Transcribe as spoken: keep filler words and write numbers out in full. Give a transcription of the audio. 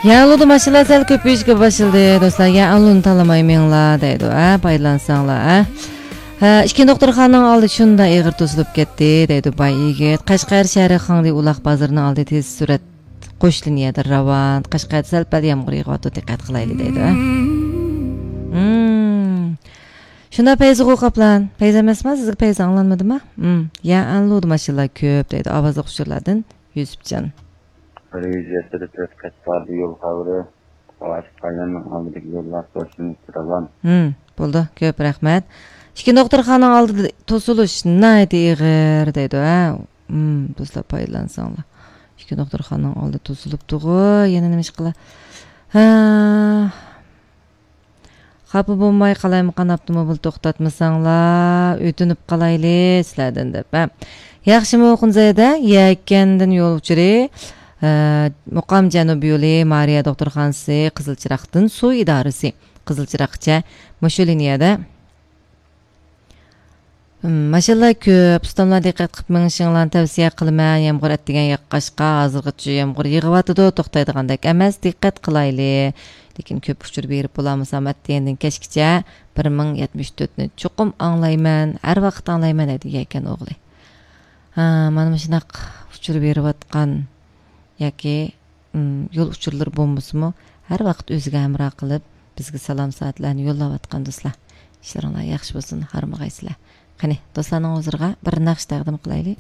يەنلۇدا ماشىنىلار سەل كۆپىيىشكە باشلىدى، دوستلار. يەنلۇنى تاللىماي مېڭىڭلار، دەيدۇ، ھە، پايدىلانساڭلار، ھە. ھە، ئىككى دوختۇرخانىنىڭ ئالدى شۇنداق ئېغىر توسۇلۇپ كەتتى، دەيدۇ باي يىگىت. قەشقەر شەھىرى خاڭدى ئۇلاق بازىرىنىڭ ئالدى تېز سۈرئەت قوش لىنىيەدە راۋان. قەشقەردە سەل-پەل يامغۇر يېغىۋاتىدۇ، دىققەت قىلايلى، دەيدۇ، ھە. مم. شۇنداق پەيزىغۇ قاپلان. پەيزى ئەمەسما؟ سىزگە پەيزى ئاڭلانمىدىما؟ مم. يەنلۇدا ماشىنىلار كۆپ، دەيدۇ ئاۋازلىق ئۇچۇرلاردىن يۈسۈپجان. بىر يۈز يەتتىدە تۆت قەت باردى يول خەۋىرى. قاۋاشقاياننىڭ ئالدىدىكى يوللار قوشۇن راۋان. ھىم، بولدى، كۆپ رەھمەت. ئىككى دوختۇرخانىنىڭ ئالدىدا توسۇلۇش ناھايىتى ئېغىر دەيدۇ، ھە. ھىم، دوستلار، پايدىلانساڭلار. ئىككى دوختۇرخانىنىڭ ئالدى توسۇلۇپتىغۇ، يەنە نېمە ئىش قىلا؟ ھە. خاپا بولماي، قالايمىقان ئاپتوموبىل توختاتمىساڭلار، ئۆتۈنۈپ قالايلى سىلەردىن دەپ، ھە. ياخشىمۇ، خۇنزەيدە يەكەندىن يول ئۇچۇرى، ئە، مۇقام جەنۇبىي يولى، مارىيا دوختۇرخانىسى، قىزىل چىراغدىن سۇ ئىدارىسى، قىزىل چىراغقىچە مۇشۇ لىنىيەدە. ھىم، ماشىنىلار كۆپ، ئۇستاملار، دىققەت قىلىپ مېڭىشىڭلارنى تەۋسىيە قىلىمەن. يامغۇر ئەتىگەن ياغقاچقا، ھازىرغىچە يامغۇر يېغىۋاتىدۇ، توختايدىغاندەك ئەمەس، دىققەت قىلايلى. لېكىن كۆپ ئۇچۇر بېرىپ بولالمىسام، ئەتىگەندىن كەچكىچە بىر مىڭ يەتمىش تۆتنى چوقۇم ئاڭلايمەن، ھەر ۋاقىت ئاڭلايمەن، دەيدۇ يەكەن ئوغلى. ھا، مانا مۇشۇنداق ئۇچۇر بېرىۋاتقان ياكى، ئىم، يول ئۇچۇرلىرى بولمىسىمۇ، ھەر ۋاقىت ئۆزىگە ھەمراھ قىلىپ، بىزگە سالام سائەتلەرنى يوللاۋاتقان دوستلار. ئىشلىرىڭلار ياخشى بولسۇن، ھارمىغايسىلەر. قېنى، دوستلارنىڭ ھۇزۇرىغا بىر ناخشا تەقدىم قىلايلى.